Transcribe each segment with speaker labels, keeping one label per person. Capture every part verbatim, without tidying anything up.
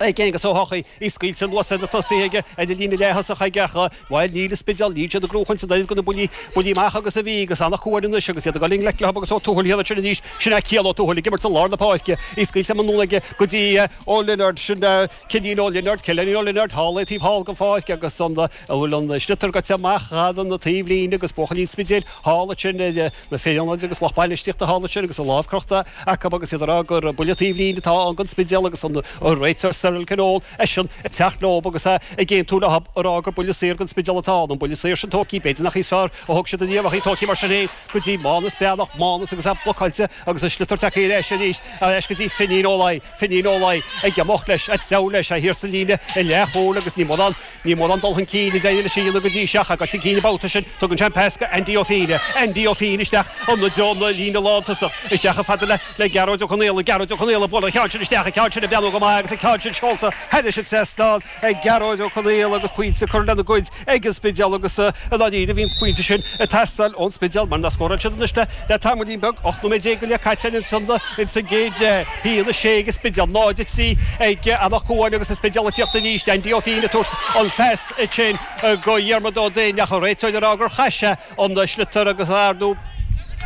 Speaker 1: Ag Aonghus Ó hEochaidh, í scaoilte anuas ar na tosaithe aige ar an líne leath-thosach aige ach, bhuel, níl an Spidéal, níl siad ag gnóchaint an oiread de na buillí, buillí amach agus a bhí agus Eanach Cuain anois agus iad ag dul i ngleic leo agus Ó Tuathail thiar ansin arís, sin é Cian Ó Tuathail ag imirt i lár na páirce, í scaoilte anonn aige go dtí Ó Lionáird, sin Cillian Ó Lionáird, Cillian Ó Lionáird thall ag taobh thall den pháirc agus an, a bhfuil an sliotar gaibhte amach thar an taobhlíne agus buachaillí an Spidéil thall ansin ar na fir ionaid agus lucht bainistíochta thall ansin agus a lámh crochta acu agus iad ag rá gur buille taobhlíne atá ann don Spidéal agus an réiteoir Cyril Conole eisean ag teacht leo agus é ag aontú leo ag rá gur buille saor don Spidéal atá ann. An buille saor sin tógtha, b'fhéidir nach í is fearr a thóg siad inniu ach í tógtha mar sin féin go dtí Mánas Breathnach, Mánas agus é blocáilte agus an sliotar tagtha ar ais arís ar ais go dtí Finín Ó Laoi, Finín Ó Laoi ag imeacht leis, ag treabhadh leis, é thiar sa líne i leathchúil agus ní mórán Ní mórán dul chun cinn a d'éirigh leis a dhéanamh go dtí seo ach chun cinn an babhta sin. Tugann sé an pas go Andy Ó Fínne. Andy Ó Fínne isteach i dtreo na líne lántosach. Isteach chomh fada le le Gearóid Ó Conaola. Gearóid Ó Conaola ag bualadh an ceann sin isteach, an ceann sin ag breathnú go maith agus an ceann sin seolta thairis an trasnán ag Gearóid Ó Conaola agus pointe curtha lena gcuid ag an Spidéal agus i ndáiríre bhí an pointe sin ag teastáil ón Spidéal mar nach scóráil siad anois le le tamaillín beag, ocht nóiméad déag go leith caite ansan insa gcéad leath. A haon a sé ag an Spidéal, náid a trí ag Eanach Cuain agus an Spidéal ag tíocht arís. Andy Ó Fínne ag tabhairt an phas ansin go Dhiarmuid Ó Duinn ach an réiteoir ag rá gur chaith sé an sliotar agus ar ndóigh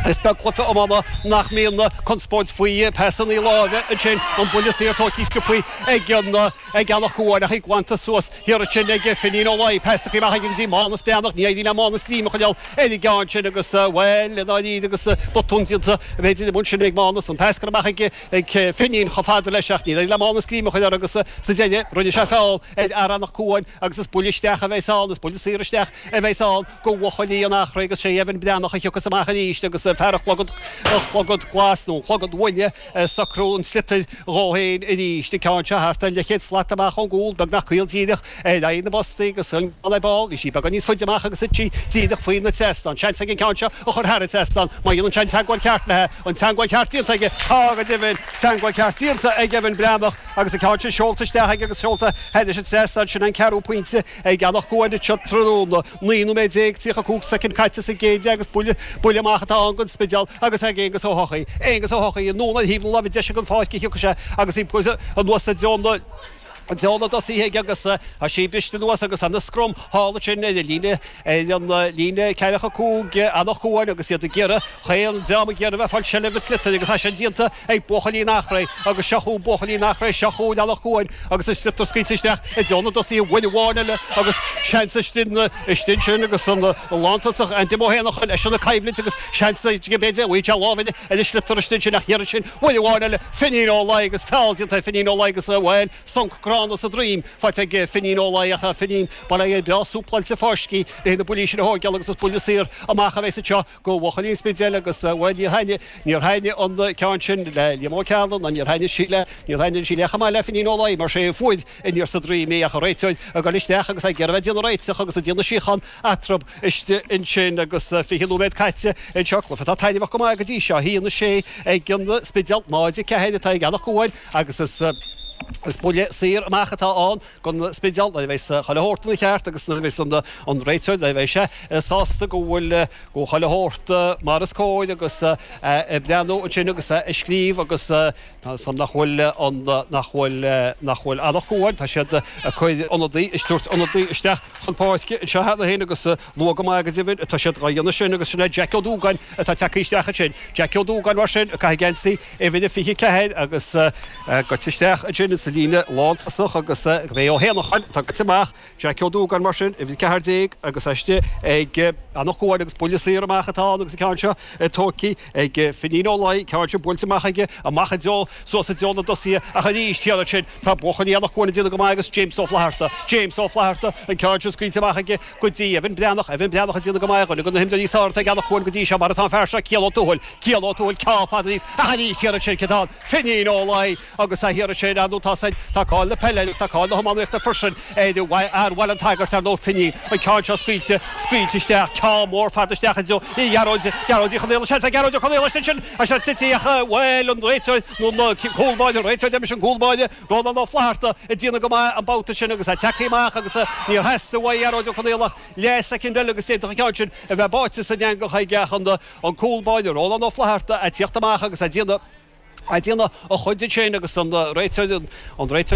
Speaker 1: is beag cluiche iomána nach mbíonn conspóid faoi pasanna láimhe ansin, an buille saor tógtha sciobtha ag an ag Eanach Cuain ach í glanta suas thiar ansin ag Finín Ó Laoi, pas tugtha amach aige go dtí Mánas Breathnach, ní éiríonn le Mánas greim a choinneáil ar an gceann sin agus bhuel i ndáiríre agus botún déanta b'fhéidir an sin ag Mánas, an pas curtha amach ag ag Finín chomh fada leis ach níor éirigh le Mánas greim a choinneáil air agus sa deireadh rinne sé feall ar fhear Eanach Cuain agus is buille isteach a bheas ann, is buille saor isteach a bheas ann go bhuachaillí an Eachréidh agus sé Evan Breathnach a thiocfas amach arís agus fear an chlogad, an chlogad glas nó an chlogad uaine ag socrú an tsliotair dhó féin arís. An ceann seo thart ar leathchéad slat amach ón gcúl, beagnach caol díreach ar aghaidh na bpostaí agus an ar ball, bhí sí beagán níos faide amach agus thit sí díreach faoi na trasnán. Seans aige an ceann seo a chur thar an trasnán má dhéanann sé an teagmháil cheart léi. An teagmháil cheart déanta aige, tá go deimhin, teagmháil cheart déanta ag Evan Breathnach agus an ceann sin seolta isteach aige agus seolta thairis an trasnán. Sin an ceathrú pointe ag Eanach Cuain anseo tráthnóna. Naoi nóiméad déag tríocha cúig soicind caite sa gcéad leath agus buille, buille amach atá ann don Spidéal agus ag Aonghus Ó hEochaidh. Aonghus Ó hEochaidh anonn ar thaobh na láimhe deise den pháirc a thiocfaidh sé agus í anuas i dtreo na, i dtreo na dtosaithe aige agus tá sí briste anuas agus ana scrum thall ansin ar an líne, ar an líne ceathracha cúig, Eanach Cuain agus iad ag iarraidh, chaon dream ag iarraidh bheith ag fáil seilbh an tsliotair agus é sin déanta ag buachaillí an Eachréidh agus seo chugainn buachaillí an Eachréidh, seo chugainn Eanach Cuain agus an sliotar scaoilte isteach i dtreo na dtosaithe, buille amháin eile agus seans istigh ansin agus an lántosach Andy Ó hÉanacháin eisean ag coimhlint agus seans aige b'fhéidir, bhí sé lámh ar an sliotar istigh ansin ach thiar ansin buille amháin eile, Finín Ó Laoi agus feall déanta ar Finín Ó Laoi agus bhuel, sonc gránna sa droim faighte ag Finín Ó Laoi ach Finín bail ó Dhia air breá súpláilte fáiscthe le na buillí sin a thógáil agus is buille saor amach a bheas anseo go bhuachaillí an Spidéil agus bhuel níor thaitnigh, níor thaitnigh an ceann sin le Liam Ó Cearnaigh ná níor thaitnigh sí le, níor thaitnigh sí le chomh maith le Finín Ó Laoi mar sé a fuair aniar sa droim í ach an réiteoir ag dul isteach agus ag iarraidh a bheith ag déanamh réiteach agus ag déanamh síocháin eatarthu istigh ansin agus fiche nóiméad caite anseo, cluiche atá taitneamhach go maith go dtí seo, a haon a sé ag an Spidéal, náid a ceathair atá ag Eanach Cuain agus is is buille saor amach atá ann don Spidéal nuair a bheas chuile shórt ina cheart agus nuair a bheas an réiteoir, nuair a bheidh sé sásta go bhfuil go bhfuil chuile shórt mar is cóir agus ag breathnú ansin agus ag scríobh agus tá 'fhios a'm nach bhfuil an nach bhfuil nach bhfuil Eanach Cuain, tá siad ag cur ionadaí ag tabhairt ionadaí isteach chun páirce anseo cheana féin agus luath go maith go deimhin atá siad dhá dhéanamh sin agus sin é Jack Ó Dúgáin atá tagtha isteach ansin. Jack Ó Dúgáin mar sin ag caitheamh geansaí uimhir a fiche ceathair agus gaibhte isteach ansin sa líne lántosach agus gurb é Ó hÉanacháin atá gaibhte amach. Jack Ó Dúgáin mar sin, uimhir ceathair déag agus istigh ag Eanach Cuain agus buille saor amach atá ann agus an ceann seo tógtha ag Finín Ó Laoi, ceann seo buailte amach aige, amach i dtreo, suas i dtreo na dtosaithe ach arís thiar ansin tá buachaillí Eanach Cuain ag déanamh go maith agus James Ó Flatharta, James Ó Flatharta, an ceann seo scaoilte amach aige go dtí Evan Breathnach, Evan Breathnach ag déanamh go maith, dhuine de na himreoirí is fearr atá ag Eanach Cuain go dtí seo mar atá an fear seo, Cian Ó Tuathail, Cian Ó Tuathail, ceann fada aníos ach arís thiar ansin cé atá ann? Finín Ó Laoi agus a thiar ansin, ar ndóigh tá san, tá cáil na peile agus tá cáil na hiománaíochta freisin ar fhear Bhaile an tSagairt, ar ndóigh, Finín, an ceann seo scaoilte, scaoilte isteach, ceann mór fada isteach i dtreo Ghearóid, Gearóid Uí Chonaola, seans ag Gearóid Ó Conaola ansin, tá sé tite ach, bhuel, an réiteoir, nó an cúl báire, an réiteoir, deimis an cúl báire, Rónán Ó Flatharta, ag déanamh go maith an babhta sin agus é tagtha amach agus níor theastaigh uaidh Gearóid Ó Conaola ach leathshoicind eile agus d'fhéadfadh an ceann sin a bheith báite san eangach aige ach an an cúl báire, Rónán Ó Flatharta, ag tíocht amach agus ag déanamh, ag déanamh a chuid ansin agus an réiteoir, an réiteoir.